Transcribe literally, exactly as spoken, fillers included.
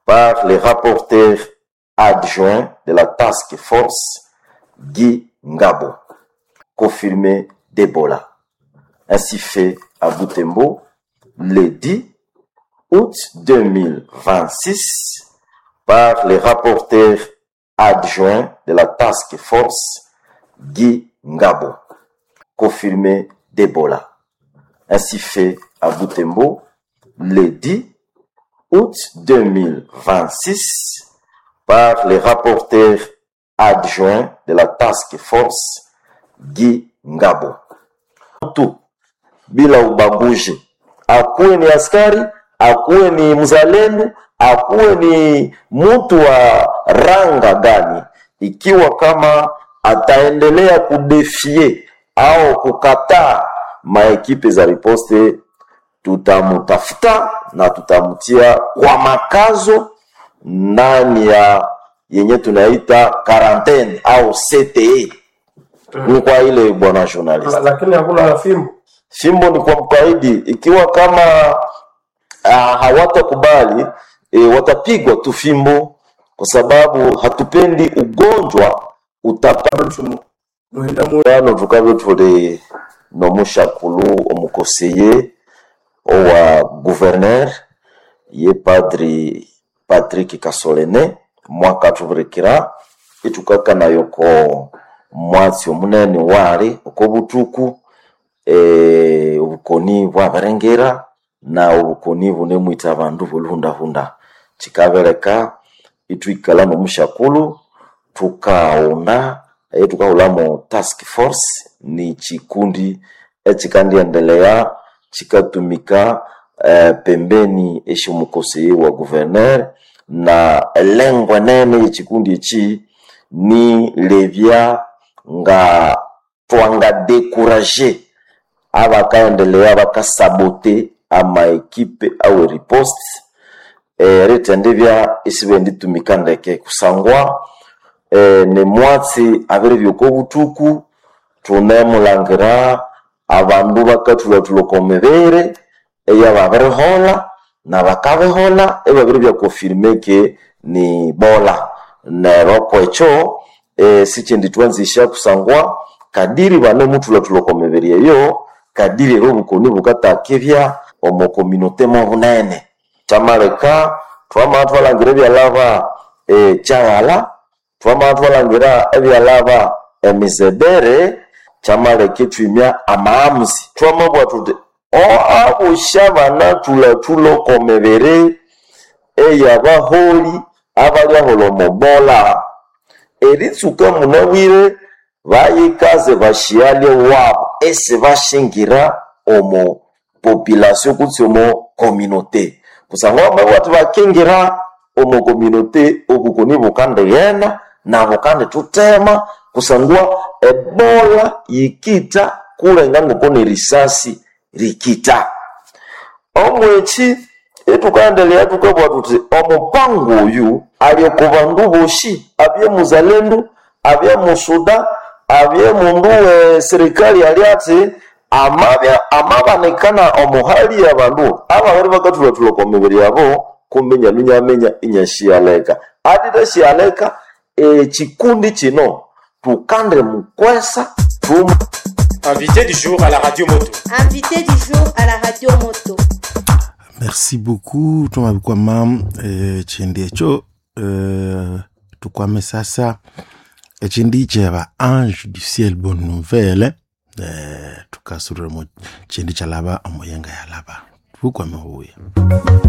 par le rapporteur adjoint de la Task Force Guy Ngabo, confirmé d'Ebola. Ainsi fait à Butembo le dix août deux mille vingt-six par le rapporteur adjoint de la Task Force Guy Ngabo, confirmé d'Ebola. Ainsi fait à Butembo le dix août deux mille vingt-six par le rapporteur adjoint de la Task Force Guy Ngabo. Tu bila ubaguzi, akuwe ni askari, akuwe ni mzalendo, akuwe ni mtu wa ranga gani, ikiwa kama ataendelea kudefie au kukataa maekipe za riposte, tutamutafuta na tutamtia kwa makazo ndani ya yenye tunaita quarantaine au C T E. Ni kwa ile bwana journalist. Lakini hakuna fimbo. Fimbo ni kwa mkaidi, ikiwa kama, ah, hawatakubali, e, watapigwa tu fimbo, kwa sababu hatupendi ugonjwa utapa. Ano tukabe tuli no mushakulu omukoseye owa gouverneur ye padri Patrick Kasolene mwaka tuburekera itukaka nayo ko mwatsi omunene wali uko butuku, e, obukoni bwabarengera na obukoni bunemwita abandu boluhundahunda kikabereka itwikala no mushakulu tukaona e, tukahulamo task force ni chikundi echikandiendelea chikatumika, eh, pembeni eshimukoseye wa gouverneur na lengo nene yechikundi echi ni levya nga twanga décourager abakaendelea bakasabote ama ekipe au riposte, eh, retendevya isibenditumika ndeke kusangwa, eh, ne mwatsi abere byoko butuku tunemulangira abandu bakathulatula komibere eya babirihola na bakabihola ebabiri byakonfirme ke ni bola neryo kwecho, e, sichindi twanzisha kusangwa kadiri banemuthulathula komibiri eyo kadiri ero obukoni bukatakibya omo communauté mo bunene kyamaleka twamala twalangira ebyalaba, e, kyaghala twamala twalangira ebyalaba emizebere kyamaleka ithwimya amaamuzi twamabwa thuthi o abosha banathulathula okomibiri eyabaholi abalyahola omubola eritsuka munabwire bayikaze bashialye wabo esi bashingira omo population kutse omo communauté kusangwa bamabwa bakingira omo communauté obukoni bukandighenda na bukandithutema kusangwa ebola yikita kulenga ngoko ni risasi rikita omweki itukaendelea tukabwa tuti omupango oyu ali ku bandu boshi abye muzalendo abye musuda abye mundu we serikali ali ati amabya amabanikana omuhali abandu ababiri bakathulatula kwa mibiri yabo kumbe nyalunyamenya inyashiyaleka atitashiyaleka ekikundi kino tukande mukwesa tum Invité du jour à la radio moto. Invité du jour à la radio moto. Merci beaucoup Thomas eh, chindi echo eh, tukwame sasa echindi cheba ange du ciel bonne nouvelle eh, tukasurira mu chindi chalaba omuyenga yalaba tukwame huya.